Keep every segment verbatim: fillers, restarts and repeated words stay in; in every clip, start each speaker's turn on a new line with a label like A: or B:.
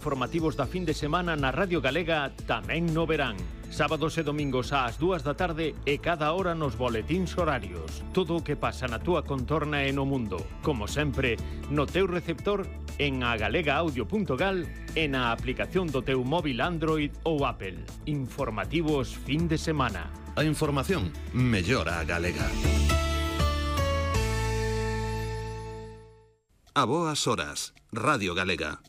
A: Informativos da fin de semana na Radio Galega tamén no verán. Sábados e domingos ás dúas da tarde e cada hora nos boletíns horarios. Todo o que pasa na túa contorna e no mundo. Como sempre, no teu receptor, en agalegaaudio punto gal e na aplicación do teu móvil Android ou Apple. Informativos fin de semana.
B: A información mellora a galega. A boas horas, Radio Galega.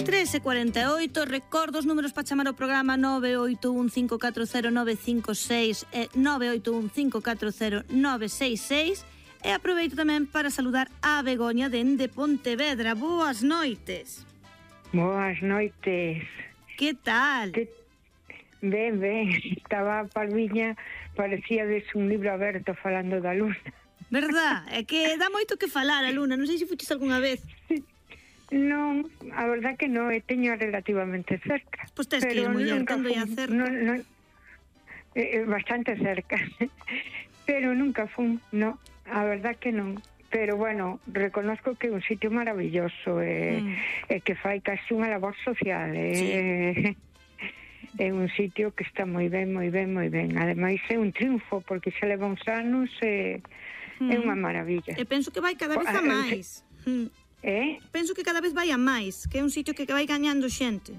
C: tres e cuarenta e oito, recordo os números para chamar ao programa nove oito un cinco catro cero nove cinco seis e nove oito un cinco catro cero nove seis seis, e aproveito tamén para saludar a Begoña dende Pontevedra. Boas noites.
D: Boas noites.
C: Que tal?
D: Que... Ben, ben, estaba a Palmiña, parecía des un libro aberto falando da luna.
C: Verdad? É que dá moito que falar a luna, non sei se fuches algunha vez.
D: Non, a verdad que non, e teño relativamente cerca.
C: Pois tes que ir, muller, tendo a cerca.
D: Non, non, eh, bastante cerca, pero nunca fun, non, a verdad que non. Pero bueno, reconozco que é un sitio maravilloso, e, mm. e que fai casi unha labor social, e, sí. É un sitio que está moi ben, moi ben, moi ben. Ademais é un triunfo, porque xa leva uns anos e mm. é unha maravilla.
C: E penso que vai cada vez a máis. Mm.
D: Eh?
C: Penso que cada vez vai a máis, que é un sitio que vai gañando xente.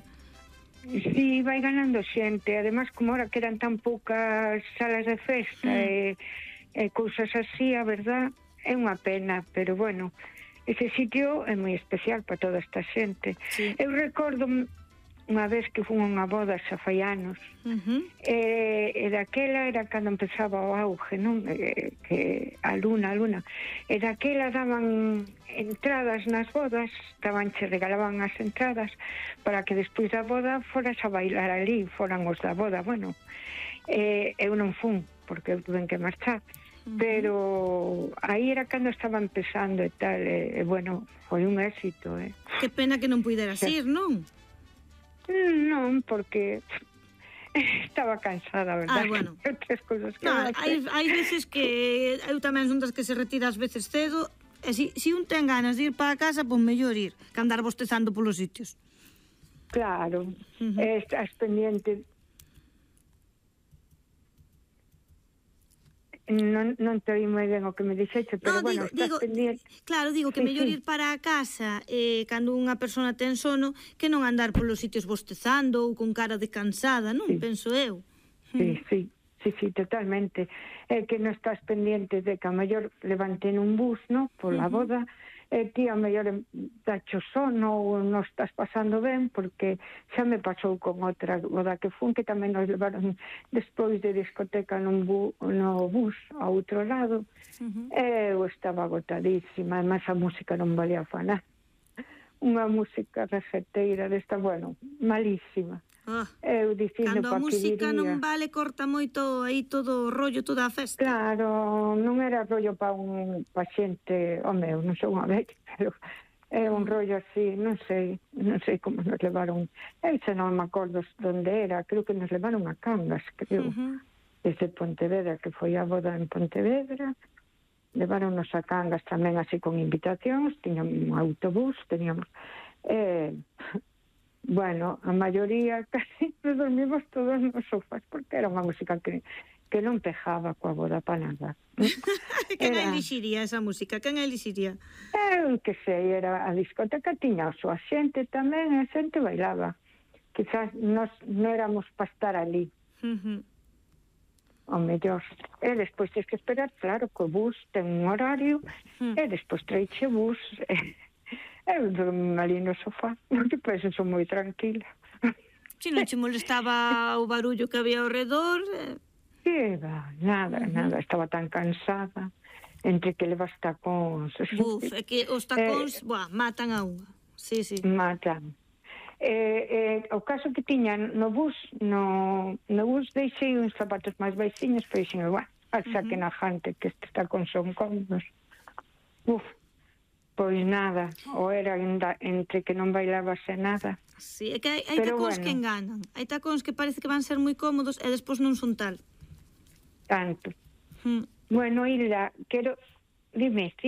D: Sí, vai ganando xente. Ademais, como ahora que eran tan poucas salas de festa mm. e, e cousas así, a verdad, é unha pena, pero bueno, ese sitio é moi especial para toda esta xente. Sí. Eu recordo unha vez que fun a unha boda xa fai anos, uh-huh. e, e daquela era cando empezaba o auge, non? E, que a luna, a luna, e daquela daban entradas nas bodas, daban, che regalaban as entradas para que despois da boda foras a bailar ali, foran os da boda. Bueno, e, eu non fun, porque eu tuve que marchar, uh-huh. pero aí era cando estaba empezando e tal, e, e bueno, foi un éxito, eh.
C: Que pena que non puideras ir, non?
D: Non, porque estaba cansada, verdad?
C: Ah, bueno.
D: Outras cousas que
C: no, hai, hai veces que eu tamén son das que se retira ás veces cedo, e si, si un ten ganas de ir para a casa, pois mellor ir, que andar bostezando polos sitios.
D: Claro, uh-huh. Estás pendiente. Non, non te oí moi ben o que me dixeche, pero no, bueno, digo, estás digo, pendiente.
C: Claro, digo que sí, mellor sí. ir para a casa eh, cando unha persona ten sono que non andar polos sitios bostezando ou con cara de cansada, non? Sí. Penso eu.
D: Sí, sí, sí, sí, totalmente. É que non estás pendiente de que a mellor levanten un bus, non? Pola uh-huh. boda, e ti a mellor dacho sono ou non estás pasando ben, porque xa me pasou con outra boda que fun, que tamén nos levaron despois de discoteca nun bu, no bus a outro lado, uh-huh. e eu estaba agotadísima, además a música non valía fa nada, unha música rejeteira desta, bueno, malísima.
C: Oh.
D: Eu dicindo
C: cando a música
D: diría,
C: non vale, corta moito aí todo o rollo, toda a festa.
D: Claro, non era rollo para un pa xente, home, eu non sou unha vez, pero é un rollo así, non sei, non sei como nos levaron. Eu xa non me acordo onde era, creo que nos levaron a Cangas, creo, uh-huh. desde Pontevedra, que foi a boda en Pontevedra. Levaronnos a Cangas tamén así con invitacións, tiñamos un autobús, teníamos... Eh, bueno, a maioría casi nos dormimos todos nos sofás, porque era unha música que, que non pejaba coa boda para nada.
C: Quen era... elixiría esa música? Quen elixiría?
D: Eu que sei, era a discoteca, tiña a súa xente tamén, a xente bailaba. Quizás nos non éramos para estar ali. Uh-huh. O mellor. E despois tens que esperar, claro, que o bus ten un horario, uh-huh. e despois traiche bus... Eu dormi ali no sofá, porque pois eu sou moi tranquila.
C: Si non che molestaba o barullo que había ao redor?
D: Que va, nada, uh-huh. nada, estaba tan cansada, entre que levas tacóns.
C: Buf, é que os tacóns, eh, buah, matan a unha. Sí, sí.
D: Matan. Eh, eh, o caso que tiña no bus, no, no bus deixei uns zapatos máis baixiños, pois dixen, buah, xa uh-huh. que na jante, que estes tacóns son cómodos. Uf. Pois nada, ou era entre que non bailabas e nada.
C: Sí, é que hai, hai tacóns bueno. que enganan. Hai tacóns que parece que van ser moi cómodos e despois non son tal.
D: Tanto. Hmm. Bueno, Hilda, quero Dime,